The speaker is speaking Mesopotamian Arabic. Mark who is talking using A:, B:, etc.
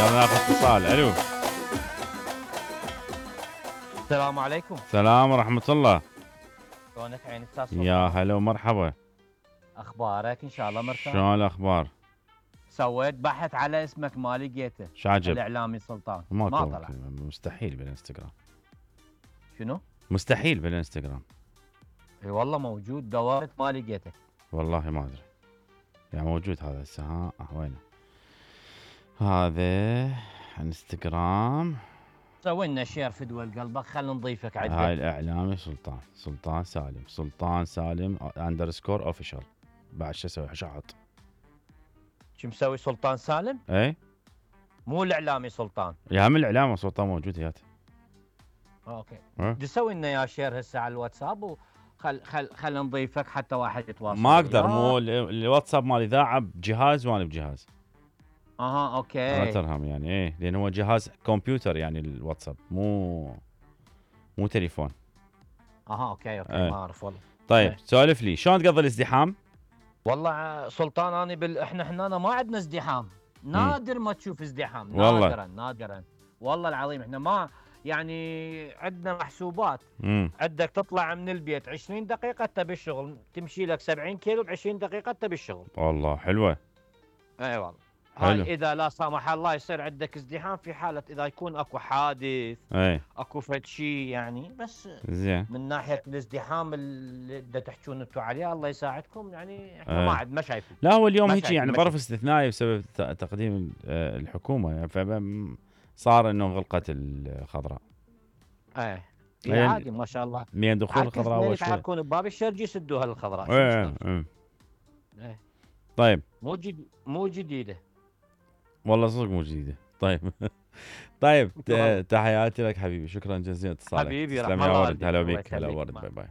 A: يلا ناخذ اتصال. الو.
B: السلام عليكم.
A: السلام ورحمة الله.
B: شلونك عين استاذ سلطان؟
A: يا هلا ومرحبا.
B: اخبارك ان شاء الله مرتاح؟
A: شلون الاخبار؟
B: سويت بحث على اسمك ما لقيته.
A: شعجب؟
B: الاعلامي سلطان
A: ما
B: طلع.
A: مستحيل بالانستغرام.
B: شنو؟
A: مستحيل بالانستغرام.
B: اي والله موجود، دورت ما لقيته.
A: والله ما ادري. يعني موجود هذا هسه. ها وينه؟ هذا انستغرام.
B: سوي لنا شير في دول قلبك، خلينا نضيفك عدة.
A: هاي الاعلامي سلطان سالم اندرسكور اوفيشال. بعد شو اسوي؟ شحط.
B: شو مسوي سلطان سالم؟
A: اي
B: مو الاعلامي سلطان.
A: يا هم الاعلام سلطان موجود هياته.
B: اوكي. تسوي لنا يا شير هسه على الواتساب خل نضيفك حتى واحد يتواصل.
A: ما اقدر، مو الواتساب مال اذاعه بجهاز وانا بجهاز.
B: اها اوكي.
A: ما ترهم يعني ايه، لان هو جهاز كمبيوتر يعني الواتساب مو تليفون.
B: اها اوكي
A: ايه.
B: ما اعرف والله.
A: طيب سولف لي شلون تقضي الازدحام؟
B: والله سلطان انا احنا هنا ما عندنا ازدحام، نادر ما تشوف ازدحام.
A: والله.
B: نادرا والله العظيم. احنا ما يعني عندنا محسوبات. عندك تطلع من البيت 20 دقيقة انت بالشغل، تمشي لك 70 كيلو ب20 دقيقة انت بالشغل.
A: والله حلوة.
B: اي والله.
A: حلو.
B: هاي اذا لا سمح الله يصير عندك ازدحام في حالة اذا يكون اكو حادث.
A: اي.
B: اكو فد شيء يعني، بس
A: زين.
B: من ناحية الازدحام اللي تحجون انتم عليه الله يساعدكم، يعني احنا ما شايفين.
A: لا هو اليوم هيك يعني ظرف استثنائي بسبب تقديم الحكومة يعني، فصار انه غلقت الخضراء.
B: ايه عادي ما شاء الله.
A: من دخول الخضراء اول شيء
B: يتحركون بباب الشرج يسدوها الخضراء.
A: ايه. طيب.
B: مو جديدة.
A: والله صدق مو جديدة. طيب. طيب تحياتي لك حبيبي، شكرا جزيلا اتصالك.
B: حبيبي
A: تسلم يا ورد. هلا بك. هلا ورد. باي باي.